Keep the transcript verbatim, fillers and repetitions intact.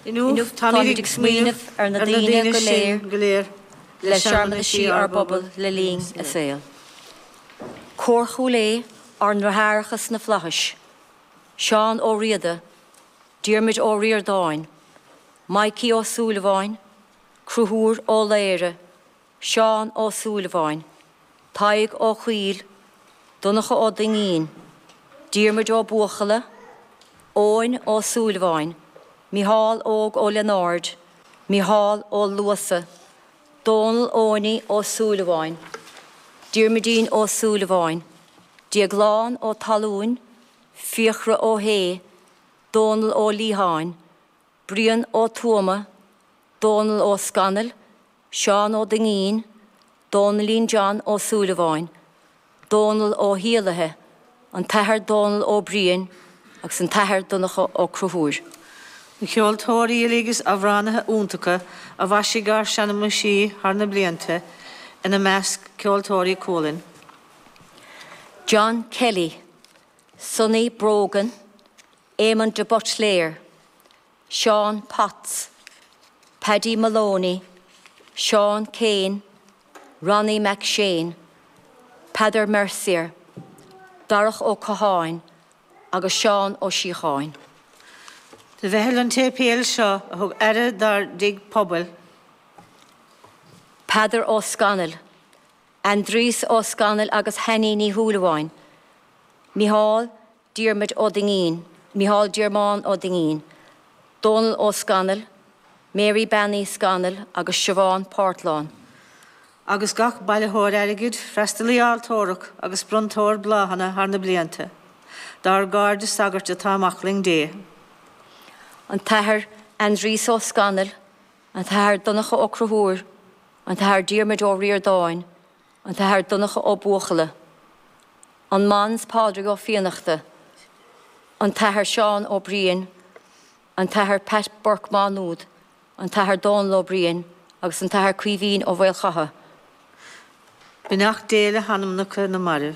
Inniu táimid ag smaoineamh ar na daoine go léir go léir le searmanaisí ár bpobal le linn a saol. Cór Chúil Aodha ár ndeartháireacha sna flaithis, Seán Ó Riada, Diarmuid Ó Ríordáin, Mikey Ó Súilleabháin, Conchúr Ó Laoire, Seán Ó Súilleabháin, Tadhg Ó Cuill, Donncha Ó Duinnín, Diarmuid Ó Buachalla, Eoin Ó Súilleabháin, Micheál Óg Ó Lionáird, Micheál Ó Luasa, Dónal Eoiní Ó Súilleabháin, Diarmuidín Ó Súilleabháin, Déaglán Ó Talúin, Fiachra Ó hÉ, Dónal Ó Liatháin, Brian Ó Tuama, Dónal Ó Scanaill, Seán Ó Duinnín, Dónalín John Ó Súilleabháin, Dónal Ó hIalaithe, an tAthair Dónal Ó Briain agus an tAthair Donncha Ó Conchúir. Na ceoltóirí agus amhránaithe iontacha a mhaisigh ár searmanaisí thar na blianta ina measc ceoltóirí Cualann. John Kelly, Sonny Brogan, Eamon de Butler, Sean Potts, Paddy Maloney, Sean Kane, Ronnie McShane, Peadar Mercier, Darach Ó Catháin agus Seán Ó Síocháin. Do mheitheal an tséipéil seo a thug aire dár dtigh pobail. Peadar Ó Scanaill, Aindrias Ó Scanaill agus Hanny Ní Shúilleabháin, Micheál Diarmuid Ó Duinnín, Micheál Diarmán Ó Duinnín, Dónal Ó Scanaill, Mary Bean Uí Scanaill agus Siobhán Portlán. Agus gach bailitheoir airgid, freastalaí altóra agus bronntóir bláthanna thar na blianta. Dár gcairde sagairt atá amach linn Dé. An tAthair Aindrias Ó Scanaill, an tAthair Donncha Ó Conchúir, an tAthair Diarmuid Ó Ríordáin, an tAthair Donncha Ó Buachalla, an Mons Pádraig Ó Fiannachta, an tAthair Seán Ó Briain, an tAthair Pat Burke Maynúd, an tAthair Dónal Ó Briain agus an tAthair Caoimhín Ó Mhaolchatha. Beannacht Dé le hanamnacha na marbh.